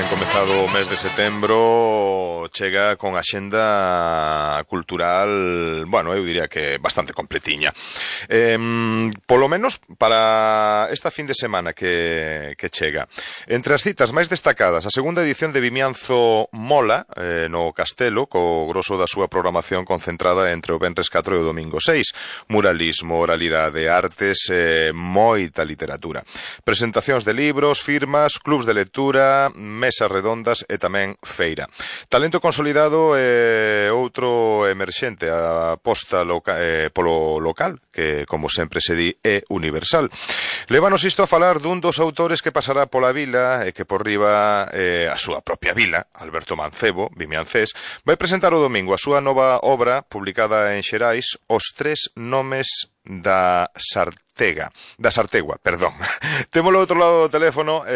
comezado o mes de setembro chega con axenda cultural, bueno, eu diría que bastante completiña. Polo menos para esta fin de semana que chega. Entre as citas máis destacadas, a segunda edición de Vimianzo Mola, no Castelo, co grosso da súa programación concentrada entre o venres 4 e o domingo 6. Muralismo, oralidade, artes, moita literatura. Presentacións de libros, firmas, clubs de lectura, mesas redondas e tamén feira. Talento consolidado e outro emerxente, a aposta polo local, que, como sempre se di, é universal. Lévanos isto a falar dun dos autores que pasará pola vila e que por riba a súa propia vila, Alberto Mancebo, vimiancés, vai presentar o domingo a súa nova obra, publicada en Xerais, Os tres nomes da Sartegua, perdón. Témolo ao outro lado do teléfono,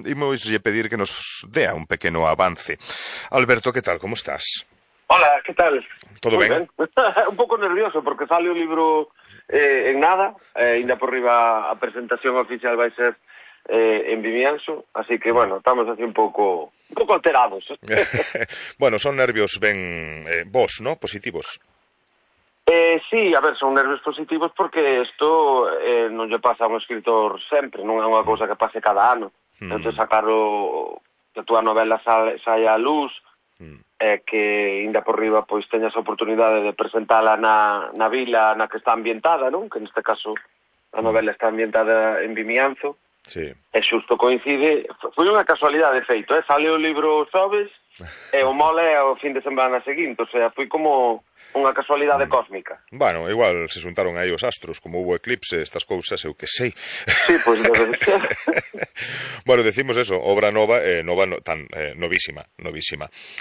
imoslle pedir que nos dea un pequeno avance. Alberto, que tal, como estás? Hola, que tal? Todo ben? Un pouco nervioso porque sale o libro en nada, ainda por riba a presentación oficial vai ser en Vimianzo, así que, bueno, estamos así un pouco alterados. Bueno, son nervios ben vos, ¿no? Positivos. Sí, a ver, son nervios positivos porque isto non lle pasa a un escritor sempre, non é unha cousa que pase cada ano. Entón, sacar que a túa novela saia a luz, que ainda por riba pois teñas a oportunidade de presentala na vila na que está ambientada, non? Que neste caso a novela está ambientada en Vimianzo. Sí. E xusto coincide, foi unha casualidade feito, sale o libro xoves e o mole é o fin de semana seguinte, o sea, foi como unha casualidade cósmica. Bueno, igual se xuntaron aí os astros, como hubo eclipse, estas cousas, eu que sei. Sí, pois debe ser. Bueno, decimos eso, obra nova, novísima.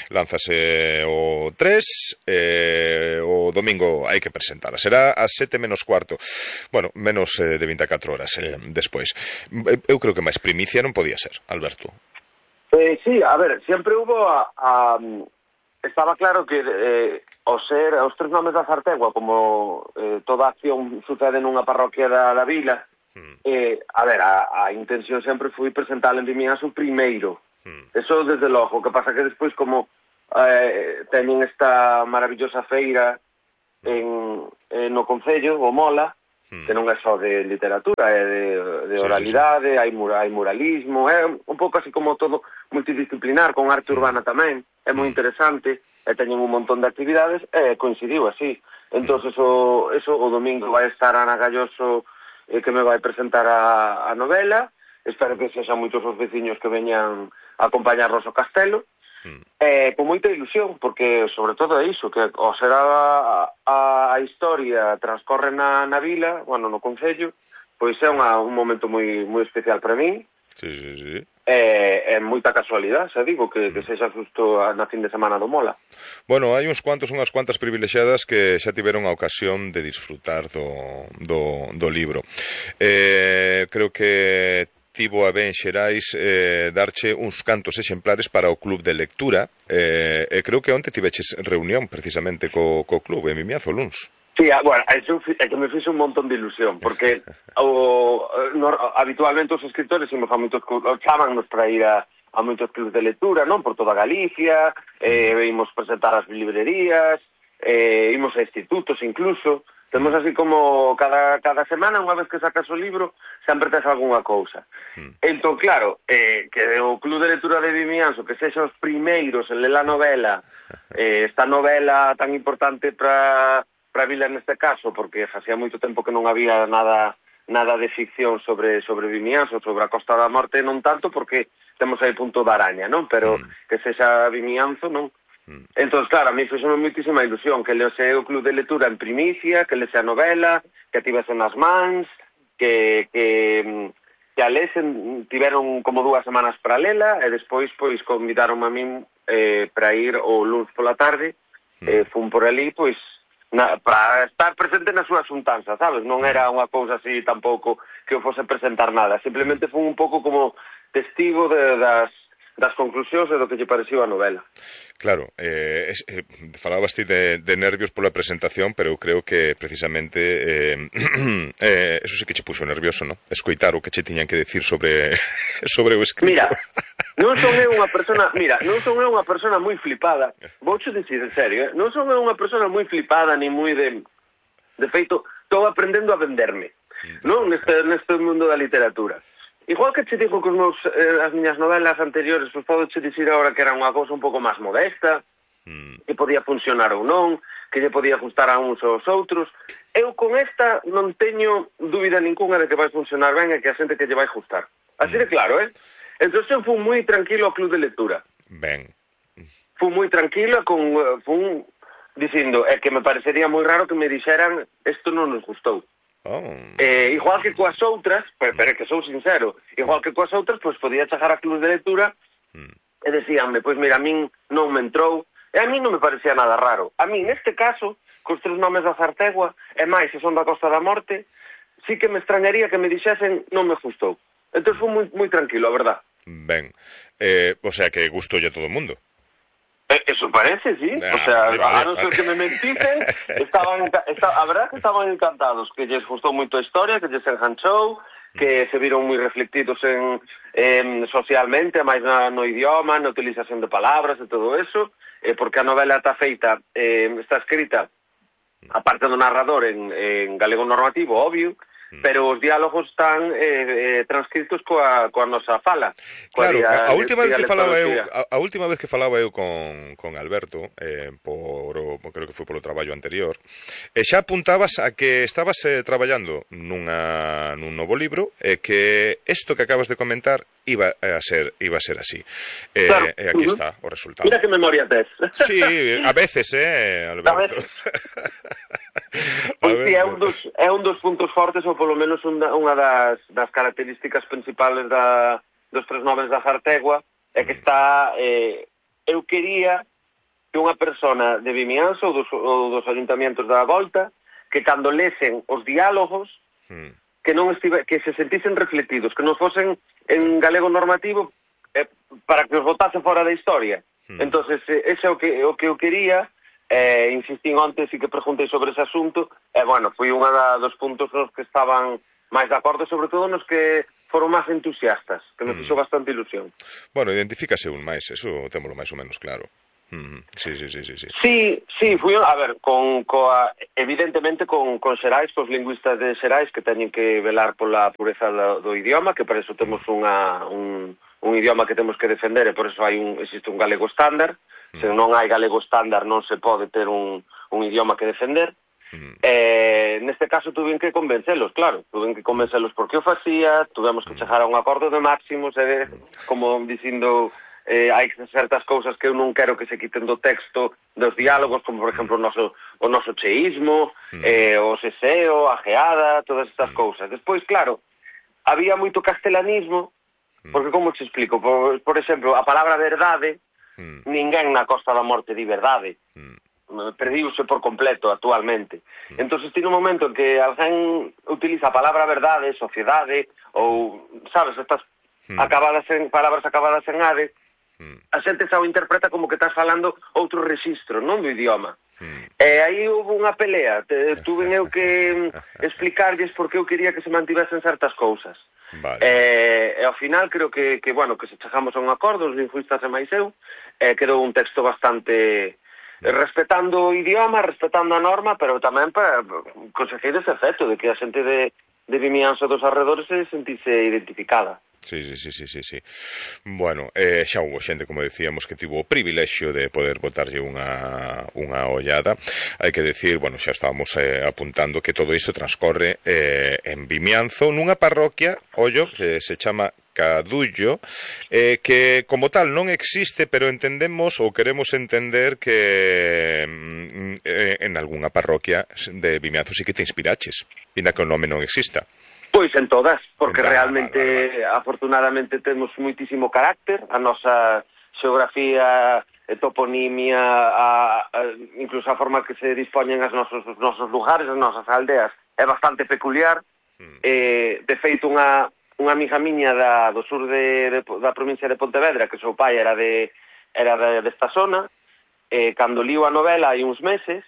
Lánzase o 3, o domingo hai que presentala. Será a 7 menos cuarto. Bueno, menos de 24 horas despois. Eu creo que máis primicia non podía ser, Alberto. Sí, a ver, sempre hubo estaba claro que os tres nomes da Sartegua, como toda acción sucede nunha parroquia da vila, a ver, a intención sempre foi presentar en Vimianzo primeiro. Eso desde logo, que pasa que despois como teñen esta maravillosa feira no Concello, o Mola, que non é só de literatura, é de oralidade, hai muralismo, é un pouco así como todo multidisciplinar, con arte urbana tamén, é moi interesante, e teñen un montón de actividades, e coincidiu así. Entón, eso o domingo vai estar Ana Galloso, que me vai presentar a novela, espero que sexan moitos os veciños que veñan a acompañarnos ao castelo, con moita ilusión, porque sobre todo é iso, que ao ser a historia transcorre na vila, bueno, no Concello, pois é un momento moi especial para min. Sí. É moita casualidade, xa digo, que sexa justo na fin de semana do Mola. Bueno, hai unhas cuantas privilexiadas que xa tiveron a ocasión de disfrutar do libro. Creo que tivo a ben Xerais darche uns cantos exemplares para o club de lectura, e creo que onte tiveches reunión precisamente co club en Vimianzo luns. Sí, bueno, eso é que me fixe un montón de ilusión, porque habitualmente os escritores chamannos para ir a moitos clubs de lectura, non? Por toda Galicia, imos presentar as librerías, imos a institutos incluso. Temos así como cada semana, unha vez que sacas o libro, sempre tes algunha cousa. Entón, claro, que o Club de Lectura de Vimianzo, que sexa os primeiros en ler a novela, esta novela tan importante para a vila neste caso, porque facía moito tempo que non había nada de ficción sobre Vimianzo, sobre a Costa da Morte, non tanto, porque temos aí Punto da Araña, non? Pero que sexa Vimianzo, non? Entón, claro, a mí foi moitísima ilusión que leose o Club de Lectura en primicia, que leose a novela, que tivese nas mans, que a lesen, tiveron como 2 semanas para lela, e despois pois convidaron a min para ir o luns pola tarde, fun por ali, pois para estar presente na súa xuntanza, sabes? Non era unha cousa así tampouco que eu fose presentar nada, simplemente fun un pouco como testigo das conclusións e do que lle pareceu a novela. Claro, falabas ti de nervios pola presentación, pero eu creo que precisamente eso sí que che puxo nervioso, non? Escoitar o que che tiñan que decir sobre o escrito. Mira, Non son eu unha persona, mira, non son eu unha persona moi flipada, voucho dicir en serio, non son eu unha persona moi flipada ni moi de feito, estou aprendendo a venderme, non neste mundo da literatura. Igual que che digo que as miñas novelas anteriores, pois podo che dicir agora que era unha cousa un pouco máis modesta, que podía funcionar ou non, que lle podía gustar a uns ou aos outros. Eu con esta non teño dúbida ninguna de que vai funcionar ben e que a xente que lle vai gustar. Así de claro, Entón eu fui moi tranquilo ao club de lectura. Ben. Fui moi tranquilo fui dicindo que me parecería moi raro que me dixeran isto non nos gustou. Igual que coas outras, pero que sou sincero, igual que coas outras, pois podía chegar a club de lectura e decíanme, pois mira, a min non me entrou, e a min non me parecía nada raro. A min, neste caso, cos 3 nomes da Zartegua, e máis se son da Costa da Morte, sí que me extrañaría que me dixesen non me gustou. Entón foi moi tranquilo, a verdad. Ben, o sea que gustoulle a todo o mundo. Eso parece, sí. O sea, a non ser que me mentisen, a verdad que estaban encantados, que lles gustou moito a historia, que lles enganchou, que se viron moi reflectidos socialmente, máis no idioma, na utilización de palabras e todo eso, porque a novela está feita, está escrita, aparte do narrador en galego normativo, obvio, pero os diálogos están transcritos coa nosa fala. Claro, a última vez que falaba eu con Alberto, creo que foi polo traballo anterior, xa apuntabas a que estabas traballando nun novo libro e que isto que acabas de comentar iba a ser así. Claro. E aquí está o resultado. Mira que memoria tes. Sí, a veces, Alberto. A veces. Pois sí, é un dos puntos fortes, ou polo menos unha das características principales dos 3 nomes da Zartegua, é que está, eu quería que unha persona de Vimianzo ou dos ayuntamientos da Volta, que cando lesen os diálogos, que se sentisen reflectidos, que non fosen en galego normativo para que os botase fora da historia. Entonces, ese é o que eu quería. Insistí onte, sí que preguntei sobre ese asunto, bueno, foi unha dos puntos nos que estaban máis de acordo, sobre todo nos que foron máis entusiastas, que me fixo bastante ilusión. Bueno, identifícase un máis, eso témolo máis ou menos claro. Sí. Sí, fui, a ver, evidentemente con Xerais, cos lingüistas de Xerais que teñen que velar pola pureza do idioma, que para eso temos un idioma que temos que defender e por eso existe un galego estándar. Se non hai galego estándar non se pode ter un idioma que defender. Neste caso tuve que convencelos, claro, porque o facía, tuvemos que chegar a un acordo de máximos, como dicindo, hai certas cousas que eu non quero que se quiten do texto dos diálogos, como por exemplo o noso cheísmo, o seseo, a geada, todas estas cousas. Despois, claro, había moito castelanismo, porque como te explico, por exemplo, a palabra verdade, ninguén na Costa da Morte di verdade, perdiuse por completo actualmente. Entón, tiene un momento en que alguén utiliza a palabra verdade, sociedade, ou, sabes, estas palabras acabadas en ade, a xente xa o interpreta como que estás falando outro rexistro, non do idioma. E aí houve unha pelea, tuve eu que explicarlles por que eu quería que se mantivesen certas cousas. Vale. E ao final creo que se chegamos a un acordo, os lingüistas e máis eu, quedou un texto bastante respetando o idioma, respetando a norma, pero tamén para conseguir ese efecto de que a xente de Vimianzo dos arredores se sentise identificada. Sí. Bueno, xa houve xente, como decíamos, que tivo o privilexio de poder botarlle unha ollada. Hai que decir, bueno, xa estábamos apuntando que todo isto transcorre en Vimianzo, nunha parroquia, ollo, que se chama Cadullo, que como tal non existe, pero entendemos ou queremos entender que en algunha parroquia de Vimianzo sí que te inspiraches, inda que o nome non exista. Pois en todas, porque realmente, afortunadamente, temos moitísimo carácter, a nosa xeografía, toponimia, incluso a forma que se dispoñen os nosos lugares, as nosas aldeas, é bastante peculiar. De feito, unha amiga miña do sur da provincia de Pontevedra, que o seu pai era desta zona, cando liu a novela hai uns meses,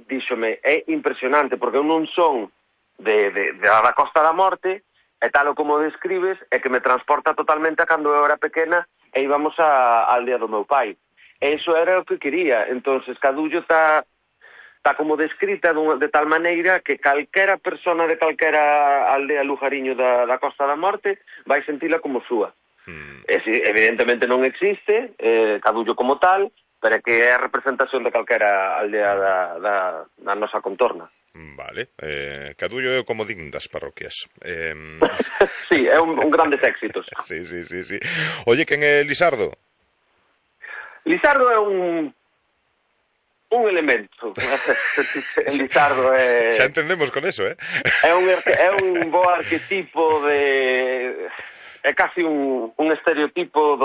díxome, é impresionante, porque eu non son da Costa da Morte, e tal o como describes, é que me transporta totalmente a cando eu era pequena e íbamos á aldea do meu pai. E iso era o que quería. Entonces, Cadullo está como descrita de tal maneira que calquera persona de calquera aldea lujariño da Costa da Morte vai sentila como súa. Evidentemente non existe Cadullo como tal, pero é que é a representación de calquera aldea da nosa contorna. Vale, Cadullo é o comodín das parroquias. Sí, é un grandes éxitos. Sí. Oye, quen é Lisardo? Lisardo é un elemento. Lisardo é... Xa entendemos con eso, É un bo arquetipo de... É casi un estereotipo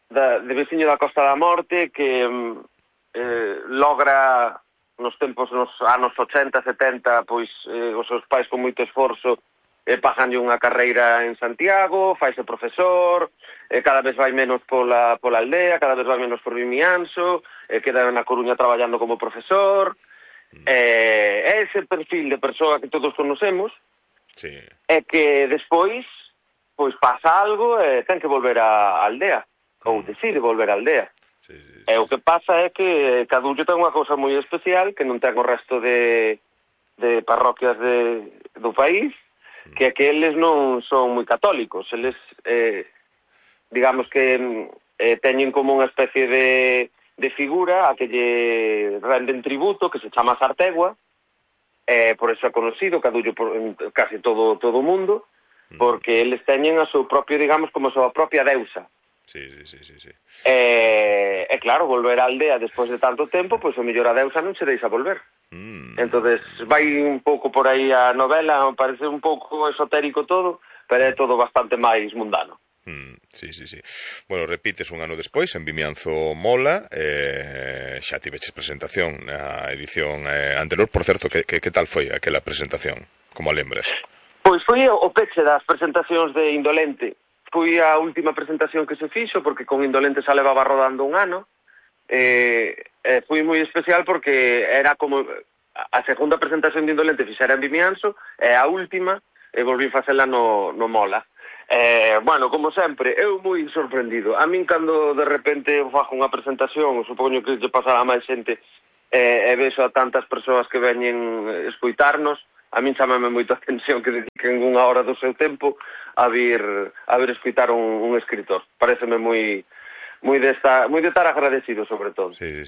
de veciño da Costa da Morte que logra nos anos 80, 70, pois os seus pais con moito esforzo paganlle unha carreira en Santiago, faise profesor, cada vez vai menos pola aldea, cada vez vai menos por Vimianzo, queda na Coruña traballando como profesor, ese perfil de persoa que todos conocemos, é que despois pois pasa algo e ten que volver á aldea, ou decide volver á aldea. E o que pasa é que Cadullo ten unha cousa moi especial que non ten o resto de parroquias do país, que é que eles non son moi católicos. Eles, digamos que teñen como unha especie de figura a que lle renden tributo, que se chama Sartegua, por eso é conocido Cadullo por casi todo o mundo, porque eles teñen a seu propio, digamos, como a súa propia deusa. Sí. E claro, volver á aldea despois de tanto tempo, pois o mellor a deusa non se deixa volver. Entonces vai un pouco por aí a novela, parece un pouco esotérico todo, pero é todo bastante máis mundano. Sí. Bueno, repites un ano despois en Vimianzo Mola, xa tiveches presentación na edición anterior. Por certo, que tal foi aquela presentación? Como a lembras? Pois foi o peche das presentacións de Indolente. Foi a última presentación que se fixo, porque con Indolente xa levaba rodando un ano. Foi moi especial porque era como a segunda presentación de Indolente fixera en Vimianzo, e a última volví facela no Mola. Bueno, como sempre, eu moi sorprendido. A min, cando de repente fago unha presentación, supoño que lle pasará a máis xente, e vexo a tantas persoas que veñen escoitarnos, a min chamame moito a atención que dediquen unha hora do seu tempo a vir escoitar un escritor. Pareceme moi de estar agradecido, sobre todo. Sí.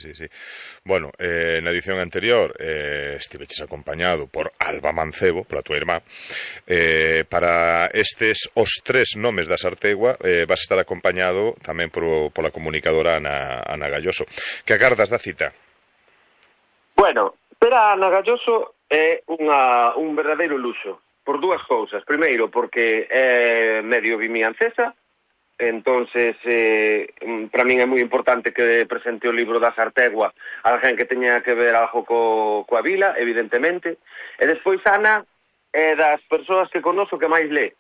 Bueno, na edición anterior estiveches acompañado por Alba Mancebo, pola tua irmá. Para estes os tres nomes da Sartegua vas estar acompañado tamén pola comunicadora Ana Galloso. Que agardas da cita? Bueno, pero Ana Galloso é un verdadeiro luxo, por dúas cousas. Primeiro, porque é medio vimiancesa, entonces para min é moi importante que presente o libro da Sartegua a alguén que teña que ver algo coa vila, evidentemente. E despois Ana é das persoas que conozo que máis lee.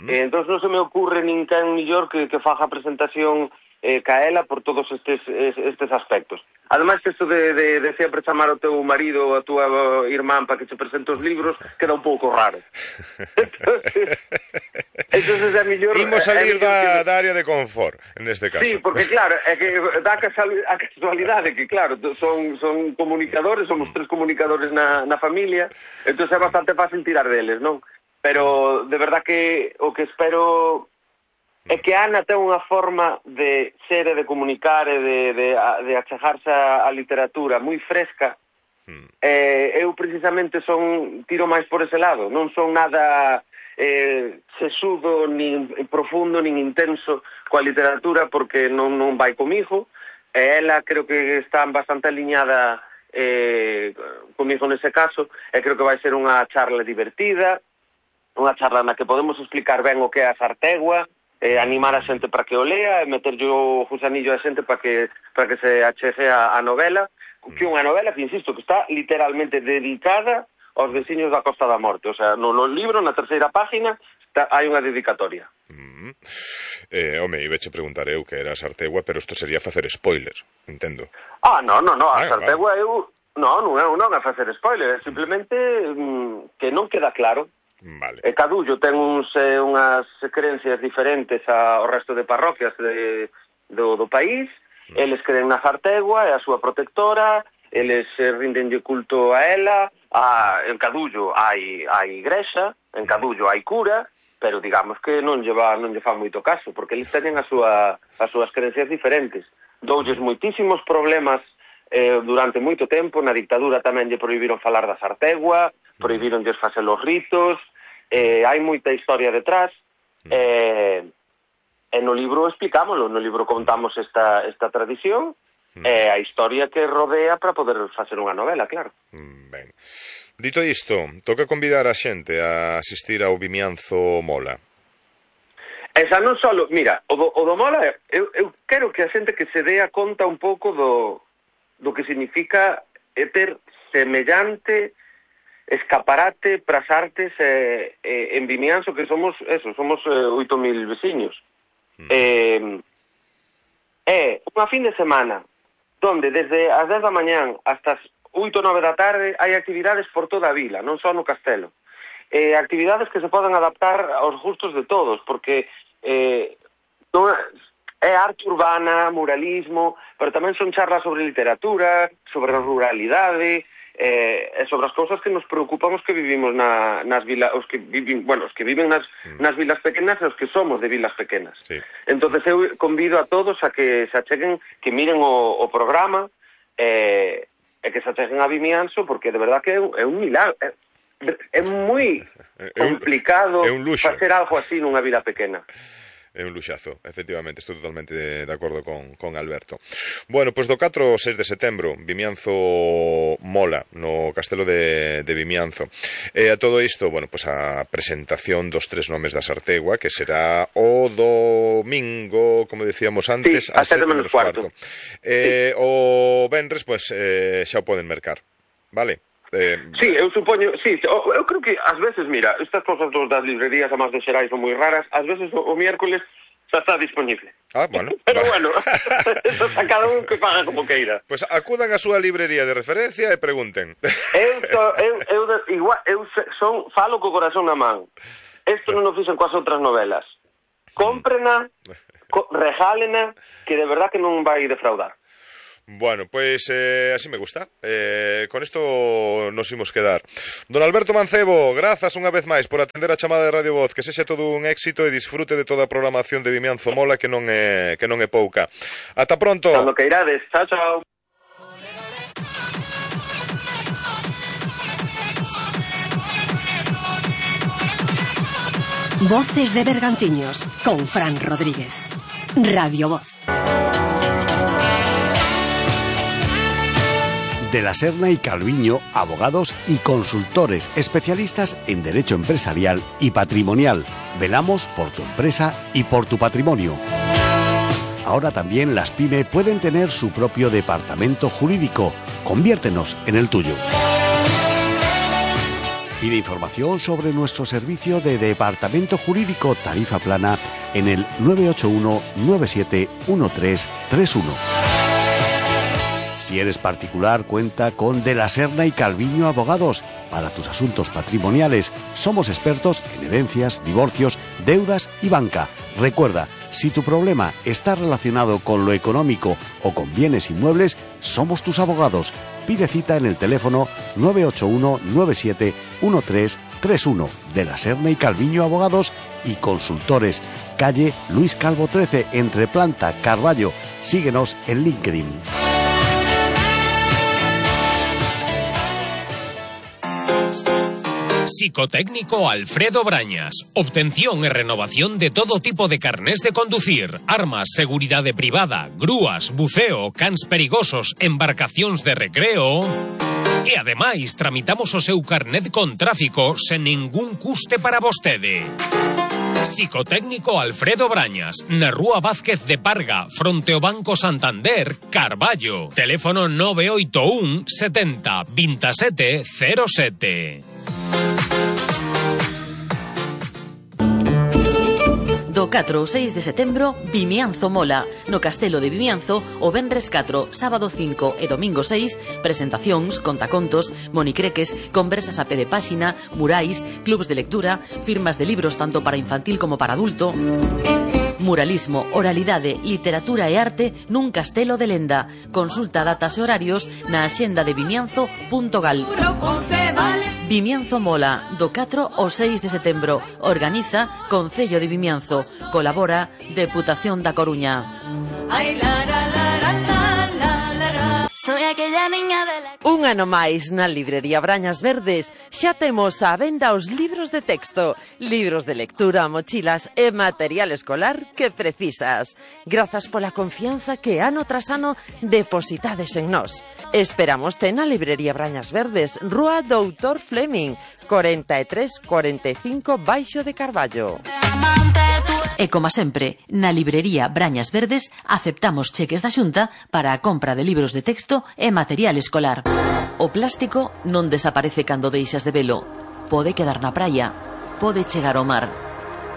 Entón non se me ocurre ninguén millor que faga a presentación ca ela por todos estes aspectos. Ademais, isto de sempre chamar ao teu marido ou a tua irmán para que te presente os libros queda un pouco raro. Entonces é mellor... Imos salir da área de confort, neste caso. Sí, porque claro, é que dá a casualidade que, claro, son comunicadores, somos tres comunicadores na familia, entón é bastante fácil tirar deles, non? Pero, de verdad que o que espero... é que Ana ten unha forma de ser e de comunicar e de achegarse á literatura moi fresca. Eu precisamente tiro máis por ese lado, non son nada sesudo, nin profundo, nin intenso coa literatura, porque non vai comigo, e ela creo que está bastante aliñada comigo nese caso, e creo que vai ser unha charla divertida, unha charla na que podemos explicar ben o que é a Sartegua, animar a xente para que o lea e meterlle o gusanillo a xente para que se achegue a novela, que é unha novela que, insisto, que está literalmente dedicada aos veciños da Costa da Morte. O sea, no libro, na terceira página, hai unha dedicatoria. Iba a preguntar eu que era a Sartegua, pero isto sería facer spoiler, entendo. Non, a Sartegua eu... Non é facer spoiler, é simplemente que non queda claro. Vale. E Cadullo ten unhas creencias diferentes ao resto de parroquias do país. Eles creen na Zartegua, é a súa protectora, eles rindenlle culto a ela, en Cadullo hai igrexa, en Cadullo hai cura, pero digamos que non lle fan moito caso, porque eles teñen as súas creencias diferentes. Doulles moitísimos problemas durante moito tempo. Na dictadura tamén lle prohibiron falar da Zartegua, prohibironlles facer os ritos, hai moita historia detrás, e no libro explicámoslo, no libro contamos esta tradición e a historia que rodea para poder facer unha novela, claro. Ben. Dito isto, toca convidar a xente a asistir ao Vimianzo Mola. Esa non só, mira, o do Mola, eu quero que a xente que se dea conta un pouco do que significa ter semellante escaparate pras artes en Vimianzo, que somos 8.000 veciños. É unha fin de semana donde desde as 10 da mañán hasta as 8 ou 9 da tarde hai actividades por toda a vila, non só no castelo. Actividades que se poden adaptar aos gustos de todos, porque é arte urbana, muralismo, pero tamén son charlas sobre literatura, sobre a ruralidade, e sobre as cousas que nos preocupan os que vivimos nas vilas, os que viven nas vilas pequenas e os que somos de vilas pequenas. Sí. Entonces eu convido a todos a que se acheguen, que miren o programa e que se acheguen a Vimianzo, porque de verdad que é un milagro. É moi complicado facer algo así nunha vila pequena. É un luxazo, efectivamente, estou totalmente de acordo con Alberto. Bueno, pois do 4 ao 6 de setembro, Vimianzo Mola, no castelo de Vimianzo. E a todo isto, bueno, pois a presentación dos 3 nomes da Zartegua, que será o domingo, como decíamos antes, a 7:15. O venres, pois, xa o poden mercar, vale? Sí, eu supoño, sí, eu creo que ás veces, mira, estas cosas das librerías a máis de xerais son moi raras, ás veces o miércoles xa está disponible. Bueno. Pero bueno, eso a cada un que paga como queira. Pois acudan á súa librería de referencia e pregunten. Falo co corazón na man. Isto non o fixen coas outras novelas. Cómprena, regálena, que de verdad que non vai defraudar. Bueno, pues así me gusta. Con esto nos imos quedar. Don Alberto Mancebo, grazas unha vez máis por atender a chamada de Radio Voz. Que sexa todo un éxito e disfrute de toda a programación de Vimianzo Mola, que non é pouca. Ata pronto. Cando que irades. Chao, chao. Voces de Bergantiños con Fran Rodríguez. Radio Voz. De la Serna y Calviño, abogados y consultores especialistas en derecho empresarial y patrimonial. Velamos por tu empresa y por tu patrimonio. Ahora también las PYME pueden tener su propio departamento jurídico. Conviértenos en el tuyo. Pide información sobre nuestro servicio de departamento jurídico tarifa plana en el 981 97 1331. Si eres particular, cuenta con De la Serna y Calviño Abogados. Para tus asuntos patrimoniales, somos expertos en herencias, divorcios, deudas y banca. Recuerda, si tu problema está relacionado con lo económico o con bienes inmuebles, somos tus abogados. Pide cita en el teléfono 981 97 1331. De la Serna y Calviño Abogados y Consultores. Calle Luis Calvo 13, entre Planta, Carballo. Síguenos en LinkedIn. Psicotécnico Alfredo Brañas. Obtención e renovación de todo tipo de carnés de conducir, armas, seguridade privada, grúas, buceo, cans perigosos, embarcacións de recreo. E ademais tramitamos o seu carnet con tráfico sen ningún custe para vostede. Psicotécnico Alfredo Brañas, na Rúa Vázquez de Parga, fronte ao Banco Santander, Carballo. Teléfono 981 70 27 07. Do 4 ao 6 de setembro, Vimianzo Mola. No Castelo de Vimianzo, o venres 4, sábado 5 e domingo 6, presentacións, contacontos, monicreques, conversas a pé de páxina, murais, clubs de lectura, firmas de libros tanto para infantil como para adulto, muralismo, oralidade, literatura e arte nun castelo de lenda. Consulta datas e horarios na axenda de vimianzo.gal. Vimianzo Mola, do 4 ao 6 de setembro. Organiza Concello de Vimianzo. Colabora Deputación da Coruña. Un ano máis na librería Brañas Verdes xa temos á venda os libros de texto, libros de lectura, mochilas e material escolar que precisas. Grazas pola confianza que ano tras ano depositades en nós. Esperámoste na librería Brañas Verdes, Rúa Doutor Fleming, 4345 Baixo de Carballo. E como sempre, na librería Brañas Verdes aceptamos cheques da Xunta para a compra de libros de texto e material escolar. O plástico non desaparece cando deixas de velo. Pode quedar na praia, pode chegar ao mar,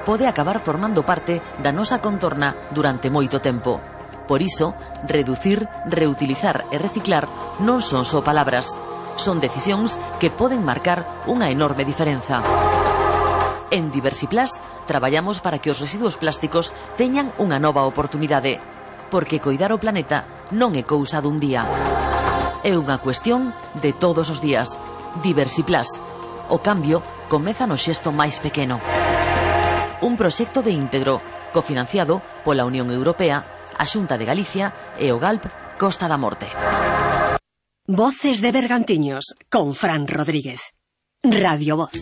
pode acabar formando parte da nosa contorna durante moito tempo. Por iso, reducir, reutilizar e reciclar non son só palabras, son decisións que poden marcar unha enorme diferenza. En Diversiplas traballamos para que os residuos plásticos teñan unha nova oportunidade, porque coidar o planeta non é cousa dun día. É unha cuestión de todos os días. Diversiplas. O cambio comeza no xesto máis pequeno. Un proxecto de íntegro, cofinanciado pola Unión Europea, a Xunta de Galicia e o GALP Costa da Morte. Voces de Bergantiños, con Fran Rodríguez. Radio Voz.